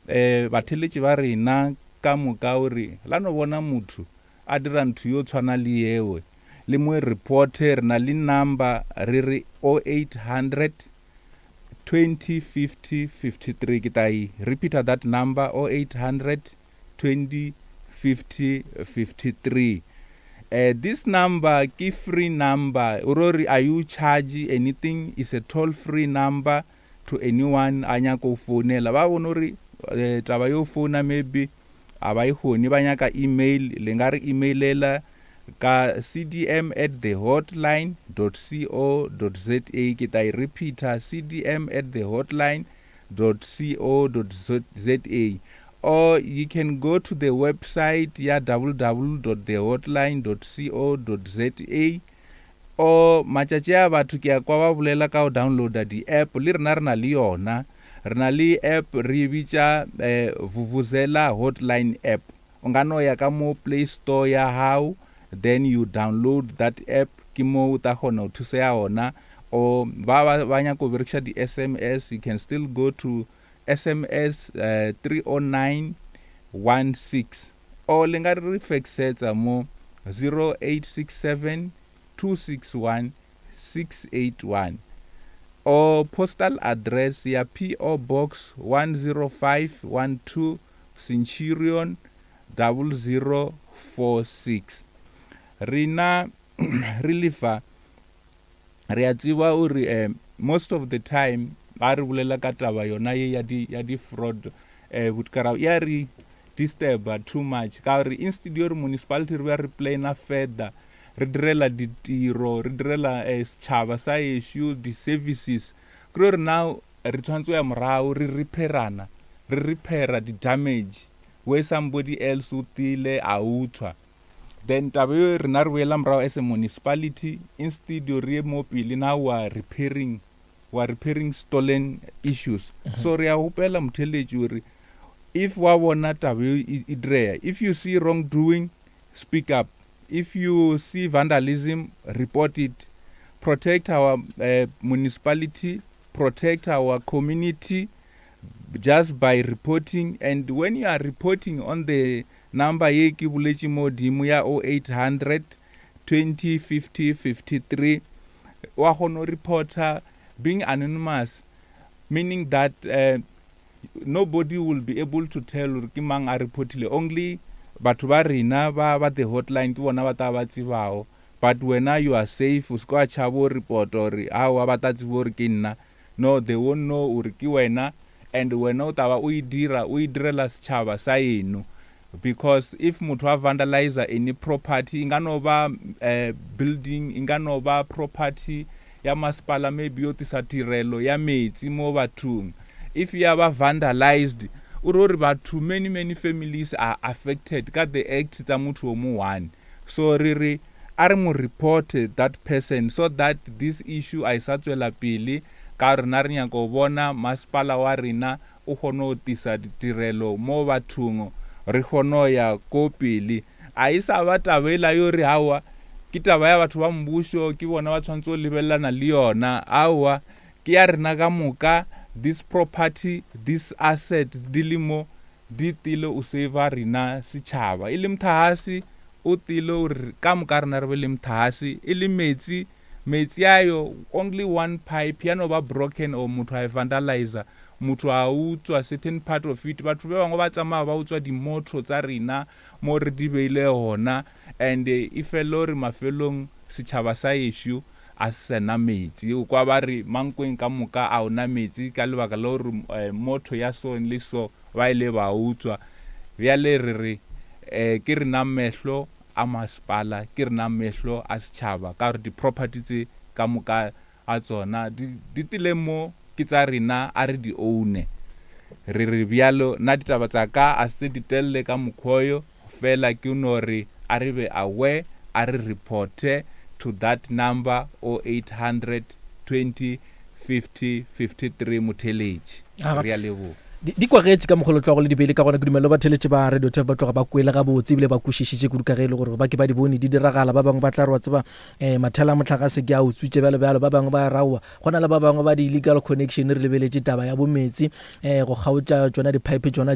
um batheletši ba rena ka moka gore la no bona motho a dira ntho yo tshwana le yewe le mo reporte. Re na le number re re 0800 20 50 53. Ke tla e repeata that number, 0800 20 50 53. This number ke free number, o ro re are you charge anything, is a toll free number to anyone a nyaka go founela. Ba bone gore taba yo founa maybe a ba e kgone, ba nyaka email, le nga re emailela ka cdm@thehotline.co.za. Ke tla e repeata, cdm@thehotline.co.za, or you can go to the website ya www.thehotline.co.za. Or matšatši a batho ke ya kwa ba bolela ka go downloada di-app, le rena re na le yona, re na le app re e bitša Vuvuzela Hotline app. O nga no ya ka mo Play Store ya hao, then you download that app, ke mo o ta kgona go thuseya ona. Or ba ba ba nyaka go berekiša di-SMS, you can still go to SMS 30916, or le nga re faxetsa mo 0867 261 681, or postal address ya PO Box 10512, Centurion 0046. Rena re lefa re a tseba gore most of the time ga re bolela ka taba yona ye ya di-fraud, botkara ya re disturba too much, ka gore instead yo re municipality re be re plana further, re direla ditiro, re direla setšhaba sa ešo di-services, ke gore now re tshwanetse go ya morago re repairana, re repaira di-damage where somebody else o tile a utswa. Then taba eo rena re boela morago as a municipality, instead re ye mo pele, now we are repairing stolen issues. So re a gopela motheletši gore if wa bona taba eo e direya, if you see wrongdoing, speak up. If you see vandalism, report it. Protect our municipality, protect our community just by reporting. And when you are reporting on the number ye ke boletše modimo ya 0800 20 50 53, wa kgona go reporta being anonymous, meaning that nobody will be able to tell gore ke mang a reportile. Only batho ba rena ba the hotline ke bona ba tla ba tsebago, but wena you are safe. O se ka wa tšhaba o reporta gore aowa ba tla tseba gore ke nna. No, they won't know gore ke wena, and wena o taba o e dira, o e direla setšhaba sa eno. Because if motho a vandalize any property, e nga no ba building, e nga no ba property ya masepala, maybe yo tisa tirelo ya metsi mo bathong, if ya ba vandalized, o re gore batho, many many families are affected ka the act tsa motho o mo one. So re re a re mo report that person so that this issue a e sa tswela pele, ka rena re nyaka go bona masepala wa rena o kgone go tisa ditirelo mo bathong, re kgone go ya ko pele. A e sa ba taba ela yo re aowa ke taba ya batho ba mmušo, ke bona ba tshwanetse go lebelelana le yona. Aowa, ke ya rena ka moka. This property, this asset di le mo di tile o save rena setšhaba. E le motlakase o tile gore ka moka rena re be le motlakase, e le metsi, metsi ayo only one pipe ya no ba broken or motho a e vandalizer, motho a utswa certain part of it. Batho ba bangwe ba tsamaya ba utswa dimotho tsa rena mo re di beile gona, and e fele gore mafelong setšhaba sa ešo a se sena metsi. O kwa ba re Mankweng ka moka a ona metsi ka lebaka la gore motho ya so le so ba ile ba utswa. Bjale re re ke rena mehlo a masepala, ke rena mehlo a setšhaba, ka gore di-property tse ka moka a tsona di tile mo ke tsa rena, a re di own. Re re bjalo nna ditaba tsa ka a se di telele ka mokgwa fela, ke no re a re be aware, a re reporte to that number 0800 20 50 53. Motheletši, re a leboga. Di kwagetše ka mokgolo tlogo le dibele ka gona. Ke dumela ba theletše ba Radio Tef ba tloga ba kwele gabotse ebile ba kwešišitše kudu, ka ge e le gore ba ke ba di bone di diragala. Ba bangwe ba tla re wa tseba mathela a motlakase ke a utswitše, bjalo bjalo. Ba bangwe ba raowa go na le ba bangwe ba di-illegal connection. Re lebeletše taba ya bometsi, go kgaotša tšona di-pipe tšona.